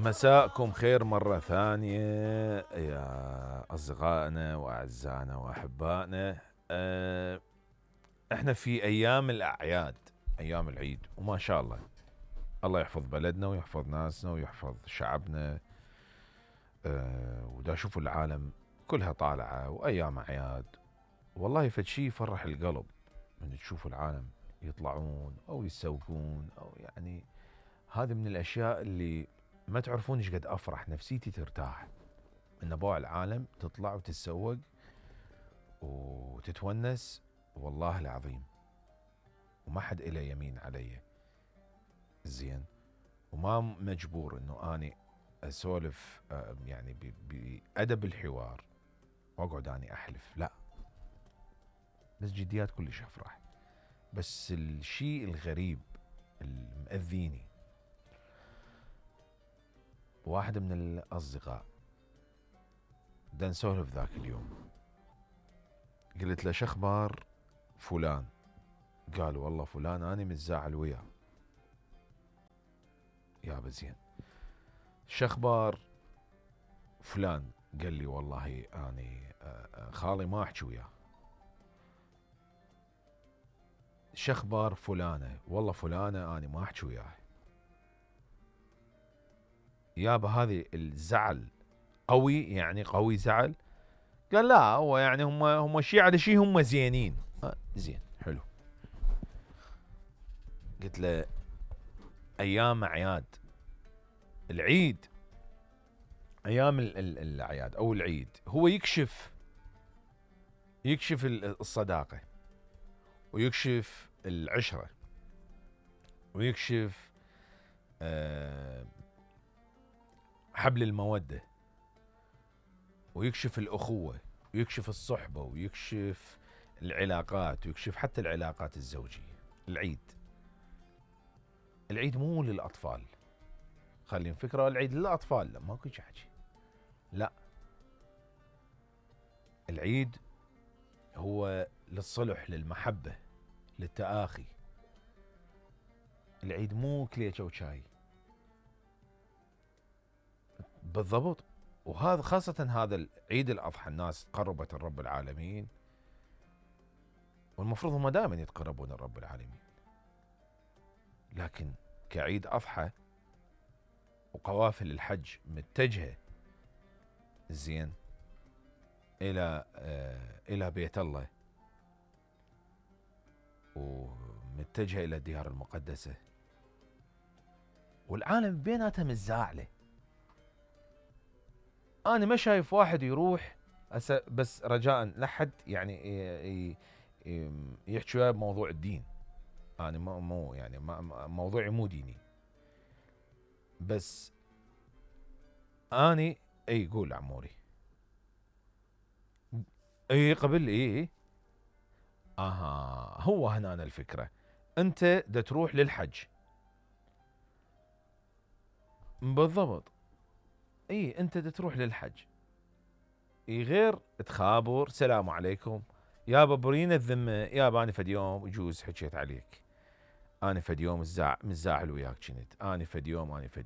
مساءكم خير مرة ثانية يا أصدقائنا وأعزائنا وأحبائنا. احنا في أيام الأعياد، أيام العيد، وما شاء الله يحفظ بلدنا ويحفظ ناسنا ويحفظ شعبنا. ودا شوفوا العالم كلها طالعة وأيام أعياد، والله فد شي يفرح القلب من تشوفوا العالم يطلعون أو يتسوقون، أو يعني هذه من الأشياء اللي ما تعرفون ايش قد افرح، نفسيتي ترتاح ان بوع العالم تطلع وتتسوق وتتونس، والله العظيم. وما حد إله يمين علي، زين، وما مجبور انه اني اسولف يعني بأدب الحوار واقعد اني احلف، لا، بس جديات كلش افرح. بس الشيء الغريب المأذيني، واحد من الأصدقاء دا نسولف ذاك اليوم، قلت له شخبار فلان؟ قال والله فلان أنا متزاعل وياه. يابا زين، شخبار فلان؟ قال لي والله أنا خالي ما أحكي وياه. شخبار فلانة؟ والله فلانة أنا ما أحكي وياه. يابا هذه الزعل قوي، يعني قوي زعل؟ قال لا، هو يعني هم شي على شي، هم زينين. زين، حلو. قلت له ايام اعياد العيد، ايام الاعياد او العيد هو يكشف الصداقة، ويكشف العشرة، ويكشف حبل المودة، ويكشف الأخوة، ويكشف الصحبة، ويكشف العلاقات، ويكشف حتى العلاقات الزوجية. العيد مو للأطفال، خلينا فكرة العيد للأطفال، لا ماكو حكي، لا، العيد هو للصلح، للمحبة، للتآخي. العيد مو كليشة وشاي، بالضبط. وهذا خاصة هذا عيد الأضحى، الناس قربت الرب العالمين، والمفروض هم دائما يتقربون الرب العالمين، لكن كعيد أضحى وقوافل الحج متجهة زين إلى بيت الله، ومتجهة إلى الديار المقدسة، والعالم بيناتها متزاعلة. أنا ما شايف واحد يروح بس رجاء لحد يعني يحكي وياه بموضوع الدين. أنا مو يعني موضوعي مو ديني، بس أني قول عموري. قبل هو هنا الفكرة. أنت دا تروح للحج، بالضبط، أنت دا تروح للحج، غير تخابر سلام عليكم يابا برينا الذمة، يابا أنا فد يوم يجوز حكيت عليك، أنا فد يوم متزاعل وياك كنت، أنا فد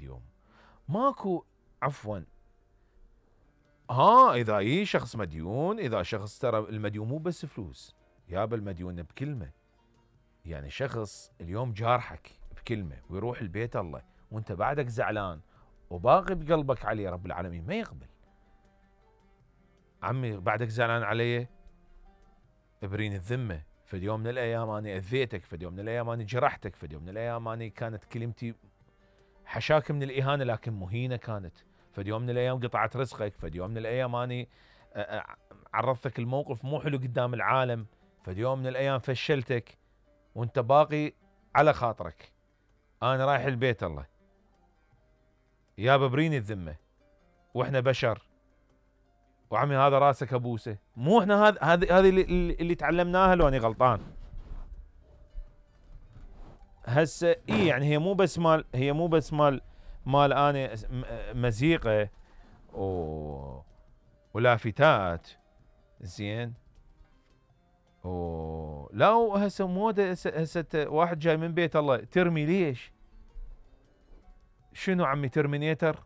يوم ماكو، عفوا. إذا شخص مديون، إذا شخص، ترى المديون مو بس فلوس يابا، المديون بكلمة. يعني شخص اليوم جارحك بكلمة ويروح البيت الله وانت بعدك زعلان وباقي بقلبك عليه، رب العالمين ما يقبل. عمي بعدك زعلان علي، ابرين الذمة، فد يوم من الأيام أنا أذيتك، فد يوم من الأيام أنا جرحتك، فد يوم من الأيام أنا كانت كلمتي حشاك من الإهانة لكن مهينة كانت، فد يوم من الأيام قطعت رزقك، فد يوم من الأيام أنا عرضتك الموقف مو حلو قدام العالم، فد يوم من الأيام فشلتك وانت باقي على خاطرك. أنا رايح البيت الله يابا بريني الذمة، واحنا بشر، وعمي هذا راسك ابوسه، مو احنا هذه اللي تعلمناها، لو اني غلطان؟ هسه يعني هي مو بس مال انا مزيقه ولافتات، زين، لا هسه موده، هسه واحد جاي من بيت الله ترمي، ليش؟ شنو عمي ترمينيتر؟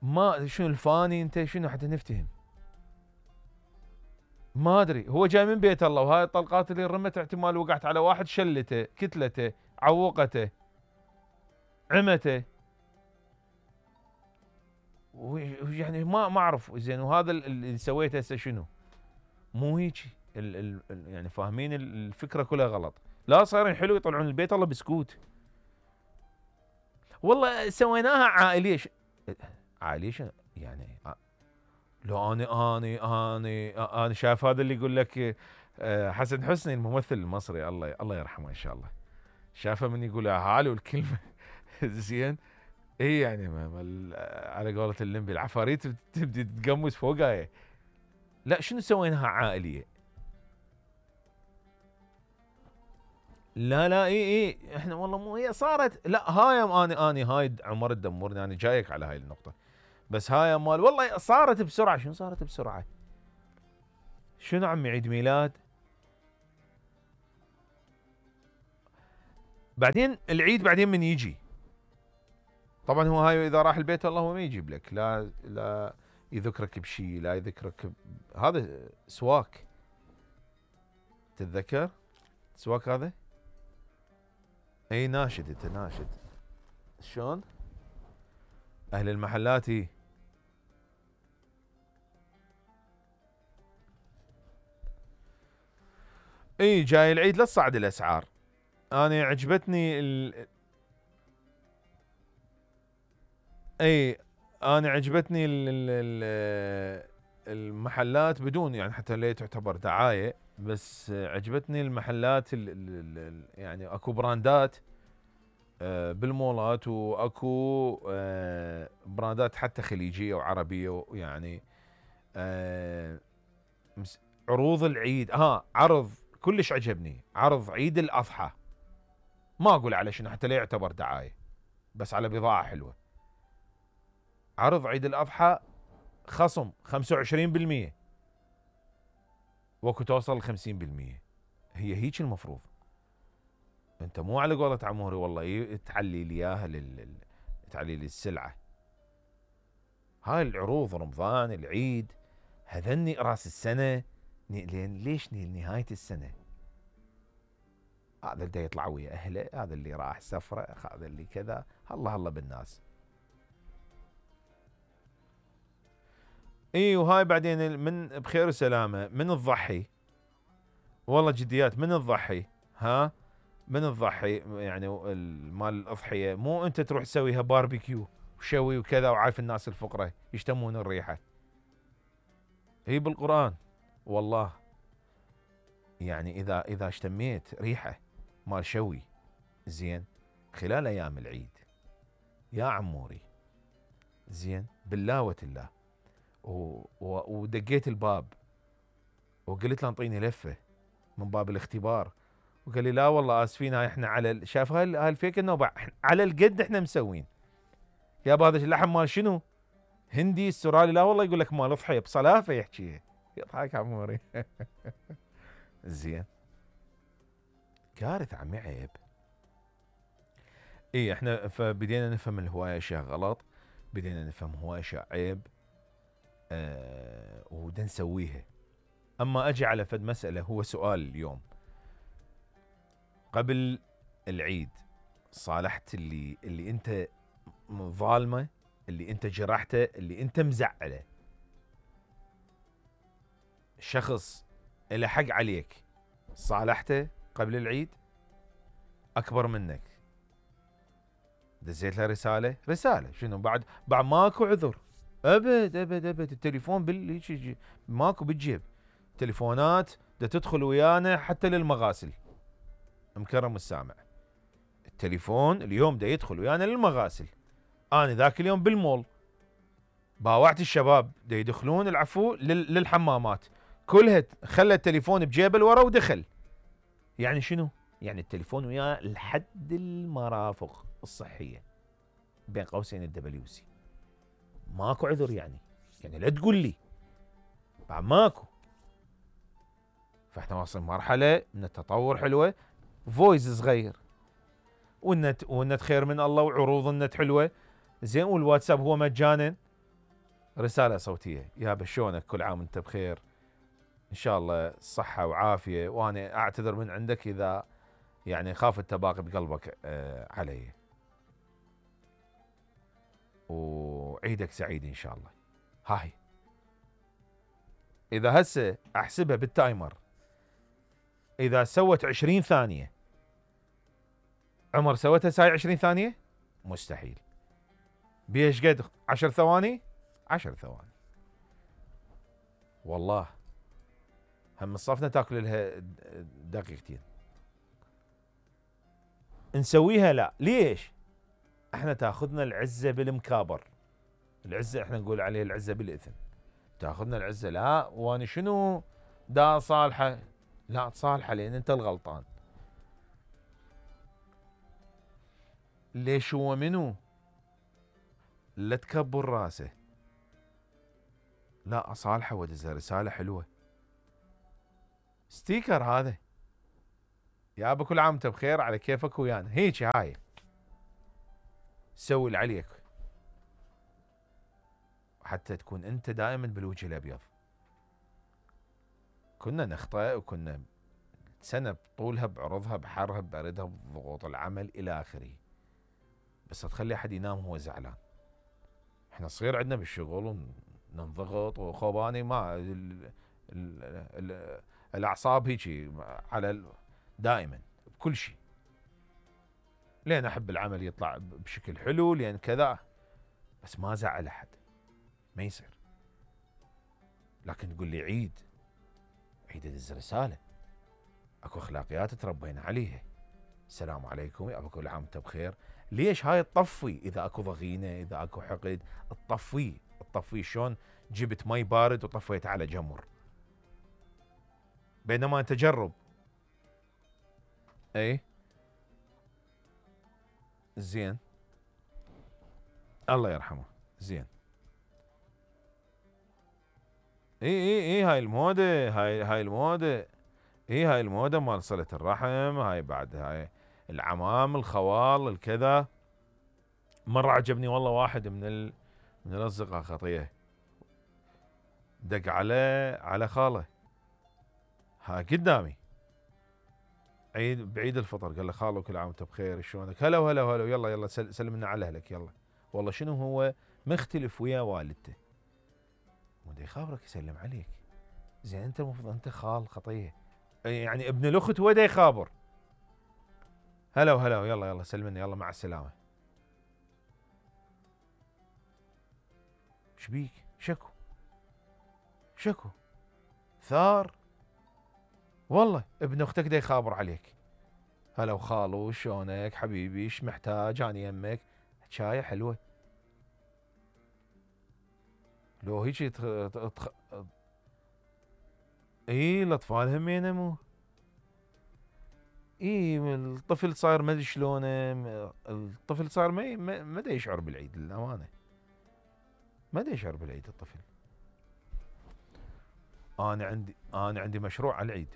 ما شنو الفاني انت شنو حتى نفتهم؟ ما ادري هو جاي من بيت الله، وهاي الطلقات اللي رمت احتمال وقعت على واحد شلته كتلته عوقته عمته، ويعني ما اعرف زين. وهذا اللي سويته هسه شنو؟ مو هيجي يعني فاهمين الفكره كلها غلط. لا صايرين حلو يطلعون البيت الله بسكوت. والله سويناها عائليه عائليه شنو يعني؟ لو انا شايف هذا اللي يقول لك حسن حسني الممثل المصري الله يرحمه ان شاء الله، شافه من يقول هالو الكلمه زين. اي يعني على قولة اللمبي العفاريت تبدي تتقمص فوقها. لا شنو سويناها عائليه؟ لا اي احنا والله مو هي صارت. لا هاي اني هاي عمر تدمرني، انا جايك على هاي النقطه. بس هاي مال والله صارت بسرعه. شنو صارت بسرعه؟ شنو عمي عيد ميلاد بعدين العيد بعدين من يجي طبعا هو هاي اذا راح البيت الله هو ما يجيب لك، لا يذكرك بشيء، لا يذكرك هذا سواك. تتذكر سواك هذا؟ اي ناشد انت ناشد. شلون اهل المحلات اي جاي العيد لا تصعد الاسعار. انا عجبتني اي انا عجبتني المحلات بدون يعني حتى لا تعتبر دعايه، بس عجبتني المحلات يعني اكو براندات بالمولات، واكو براندات حتى خليجيه وعربيه ويعني عروض العيد. عرض كلش عجبني، عرض عيد الاضحى، ما اقول على شنو حتى لا يعتبر دعايه، بس على بضاعه حلوه. عرض عيد الاضحى خصم 25%، وكو توصل 50%. هي هيك المفروض. انت مو على قولة عموري والله تعلي لي اياها تعلي لي السلعه. هاي العروض رمضان العيد هذني راس السنه، ليش نهايه السنه؟ هذا اللي يطلع ويا اهله، هذا اللي راح سفره، هذا اللي كذا، الله بالناس. اي وهاي بعدين من بخير وسلامه من تضحي، والله جديات من تضحي. من تضحي يعني مال الاضحيه، مو انت تروح تسويها باربيكيو وشوي وكذا، وعارف الناس الفقراء يشتمون الريحه. هي بالقران والله يعني اذا اشتميت ريحه مال شوي زين خلال ايام العيد يا عموري زين بالله وتالله، ودقيت الباب وقلت له انطيني لفه من باب الاختبار، وقال لي لا والله اسفين احنا على شاف هاي الفيك النوبه على القد احنا مسوين. يا هذا اللحم مال شنو؟ هندي استرالي؟ لا والله يقول لك مال اضحيه بصلافه يحكي. يضحك عموري. زين كارثه عمي عيب. اي احنا فبدينا نفهم الهوايه اشياء غلط، بدينا نفهم هوايه اشياء عيب ودا نسويها. اما اجي على فد مساله، هو سؤال اليوم قبل العيد صالحت اللي انت ظالمه، اللي انت جرحته، اللي انت مزعله، شخص له حق عليك صالحته قبل العيد اكبر منك، دزيت له رساله شنو بعد ماكو عذر ابد التليفون ماكو بالجيب، تليفونات دا تدخل ويانا حتى للمغاسل. مكرم السامع، التليفون اليوم دا يدخل ويانا للمغاسل. انا ذاك اليوم بالمول باوعت الشباب دا يدخلون العفو للحمامات، كلها خلى التليفون بجيبه ورا ودخل. يعني شنو؟ يعني التليفون وياه لحد المرافق الصحيه بين قوسين WC. ماكو عذر يعني لا تقول لي بعد ماكو. فاحنا واصلين مرحله من التطور حلوه، فويس صغير والنت خير من الله، وعروض النت حلوه زين، والواتساب هو مجانا رسالة صوتية: يابا شلونك؟ كل عام وانت بخير، ان شاء الله صحة وعافية، وانا اعتذر من عندك اذا يعني خاف التباقي بقلبك علي، وعيدك سعيد ان شاء الله. هاي اذا هسه احسبها بالتايمر، اذا سوت 20 ثانية، عمر سوتها ساي 20 ثانية؟ مستحيل. بيش قد 10 ثواني؟ 10 ثواني. والله هم صفنا تاكل لها دقيقتين. نسويها لا، ليش؟ احنا تاخذنا العزة بالمكابر، العزة احنا نقول عليه العزة بالاثم، تاخذنا العزة. لا وانا شنو دا صالحة؟ لا تصالحه لان انت الغلطان. ليش هو منو؟ لا تكبر راسه، لا اصالحه وادزها رسالة حلوة، ستيكر هذا، يابا كل عام وانت بخير، على كيفك ويانا، هيك هاي سوي اللي عليك حتى تكون انت دائما بالوجه الابيض. كنا نخطئ وكنا سنة بطولها بعرضها بحرها ببردها بضغوط العمل الى اخره، بس تخلي احد ينام وهو زعلان. احنا صغير عندنا بالشغل وننضغط وخوباني ما الاعصاب هيجي على دائما بكل شيء، لين احب العمل يطلع بشكل حلو، لين كذا، بس ما زعل احد، ما يصير. لكن تقول لي عيد ادز رساله، اكو اخلاقيات تربينا عليها، السلام عليكم يا كل عام وانت بخير. ليش؟ هاي تطفي اذا اكو ضغينه، اذا اكو حقد تطفيه. شلون جبت مي بارد وطفيت على جمر، بينما انت جرب. اي زين، الله يرحمه، زين. اي هاي المودة، هاي المودة، هاي المودة مال صلة الرحم، هاي بعد هاي العمام الخوال الكذا. مرة عجبني والله واحد من الاصدقاء خطيه دق على خاله، ها قدامي بعيد الفطر، قال له خالو كل عام وانت بخير، شلونك؟ هلا وهلا وهلا، يلا سلم لنا على اهلك يلا. والله شنو هو مختلف ويا والدته، ودي يخابرك يسلم عليك، زين انت المفروض انت خال خطيه، يعني ابن الاخت ودا يخابر، هلا وهلا يلا سلمنا يلا مع السلامه. شبيك؟ شكو ثار، والله ابن اختك دا يخابر عليك، هلا وخالو شلونك حبيبي، ايش محتاج اني يمك، حكايه حلوه. لو هيك اي الاطفال همينه مو الطفل صاير ما ادري شلونه، الطفل صار ما دا يشعر بالعيد للامانه، ما دا يشعر بالعيد الطفل. انا عندي مشروع على العيد.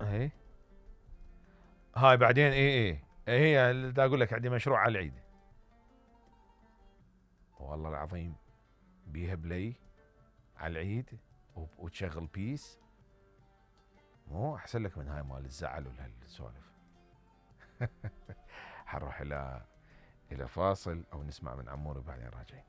اي هاي بعدين هي دا اقول لك عندي مشروع على العيد، والله العظيم بيها بلاي على العيد وتشغل بيس، مو احسن لك من هاي مال الزعل والسوالف. حنروح الى فاصل او نسمع من عمور وبعدين راجعين.